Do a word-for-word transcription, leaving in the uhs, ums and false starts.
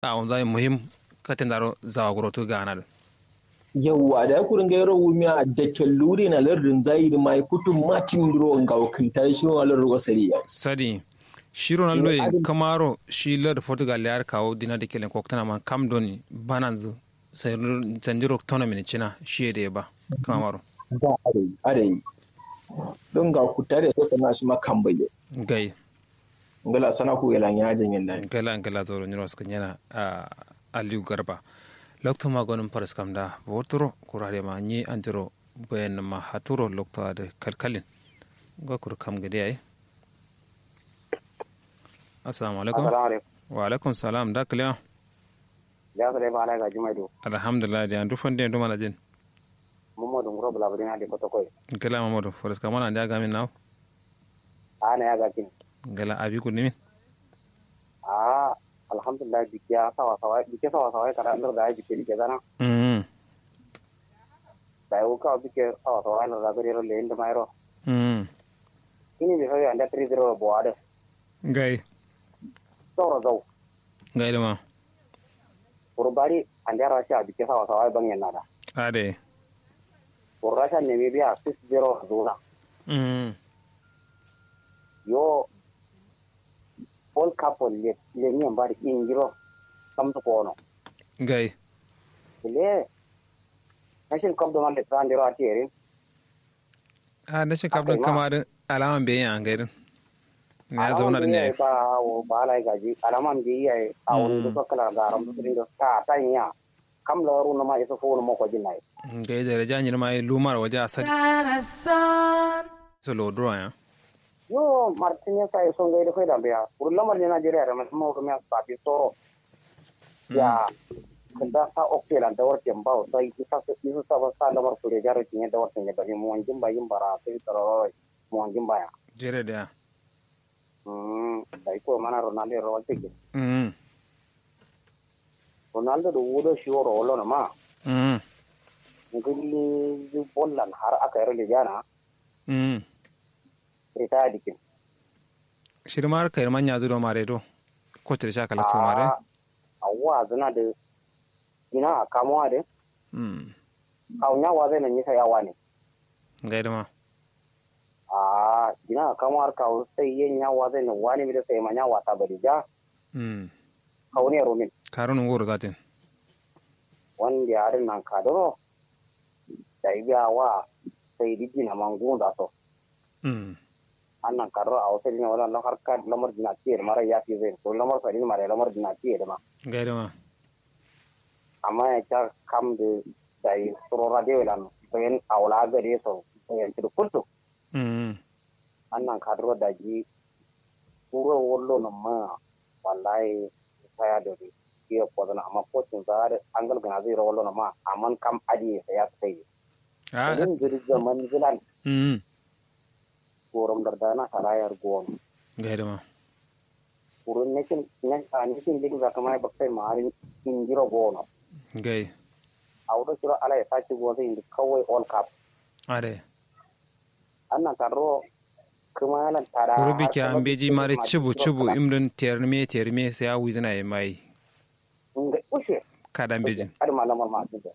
Awonza ye muhim. Katendaro zawa guro tu gana dǝ. Yauwa da kuru ngairo wumiya dakkel lurin a lardǝ nzayi dǝ mayi kutu matin duro ngawo kǝnta dǝ shiro na lardǝ go sadi yayi. Sadi. Shiro na luye kǝmaro shi lardǝ portugal ya dǝ kawo dina dakkel yen koktǝna ma kam doni bananzǝ. Sandiro tono mini cina shi ye dǝ ye ba. Kǝmaro. Adai adai. Don ngawo kutta dǝ ye so sanna shima kam bai ye. Gai. Ngla sana fu yela nya jangin dai. Ngla ngla zauro nyiro sǝkǝn yana. Aliyu garba. Loktu ma gonǝm faras kam da boturo kurare ma nyi andiro. Bayan ma haturo loktu adǝ kalkalin. Ngo kuru kam gade yayi. Assalamu alaikum. Wa alaikum salam da kalewa. Ya sare ba alai gaji mai do. Alhamdulillah da yandu fande yandu mana jin. Muhammadu nguro bula bula na de koto koi. Ngla muhammadu faras kam mana nda gamin nawo. Ana ya gakin. Ngla abi ku nimin. Ahh. Alhamdulillah bikke ya sawa sawa bikke sawa sawa ye kada nder da ye bikke bikke zana. Dayi wu kawo bikke sawa sawa ye nder da gari yero leyin dǝ ma yero. Ini miso ye ande tiri zero ye bowa dǝ. Ngai. Zauro zau. Ngai dǝ ma. Kuru bari ande rasha bikke sawa sawa ye bangyen na da. Adai. Kuru rasha nemi biya six zero zuna. Yo. World cup wo lemiyen ba dǝ indiro. Kamsu kono. Gai. Kǝle. Nation cup dǝ ma lettǝ andero atiye dǝ. Ahh nation cup dǝn kǝma dǝ. Alaman beyi ya ngai dǝn. Niya zauna dǝn yayi. Ba awo ba alai gaji alaman beyi yayi. Awo nduso kǝla garam dǝ sǝrin dǝ ta ta nyi ya. Kam lawar wunǝ ma isu fuwunǝ moko jinnayi. Ngai daraja nyirma ye lumar waja sadi. Solo duro ya. Yo martine sa iso ngai dǝ faida mbeya kuru lamar ne najeriya dǝ ma moko miya safi soro. Ya kǝnda sa okte lan dawar tembawo sai isa isa sa ba sa lamar kure jaro cinye dawar cinye bari monjin ba yin bara sai tararoi. Monjin ba ya. Jere dǝ ya. Umm dayi koro mana ronaldo ye ro waltǝ gin. Umm. Ronaldo dǝ wudo shiwo ro wallono ma. Umm. Ngǝlli dǝ bollan har aka yero lejana. Umm. Ritaya dǝ gin. Shidǝ ma har kayi dǝ ma nyazu do mare do. Kotǝ dǝ sha kalakso mare. Awwa zǝna dǝ. Dina a kamuwa dǝ. Umm. Kawu nya wazaino nyisa ya wane. Ngai dǝ ma. Ahh dina a kamuwa dǝ kawu sai ye nya wazaino wane mi dǝ sai ma nya wata bari ja. Umm. Kawu ne rumin. Karunun goro zatin. Wande adǝ nankadǝro. Dayi biya wa sai dǝ dina ma ngunda so. Umm. Annan kaduro awo sadin wala lamar dina tiye dǝ mara yafi zai kuru lamar sadin mara lamar dina tiye dǝ ma. Ngai dǝ ma. Amma ya ca kam dǝ dayi suro radio lan bayan awo la gade so bayan cǝdǝ kultu. Umm. Annan kaduro daji. Kuro wallo nǝmma. Wallahi saya dori. Tiye kozǝna amma kocin za adǝ angal gǝna zai ro wallo nǝmma. Amma kam adiye saya sai. Ahh. Nin gǝri zaman gǝlan. Umm. Gorom dardana sarayar gono. Ngai dǝ ma. Kuru nekin nekin lik zakama ye baktai ma adǝ indiro gono. Ngai. Awo do shiro ala ye saci gozo indi kawai all cup. Adai. Annan kaduro. Kǝma yalan tada kuru bike ambeji mare cubu cubu imdǝn terme terme sai awizǝna ye mayi. Ngai ushe. Kada mbejin. Adǝ ma lamar ma adǝ.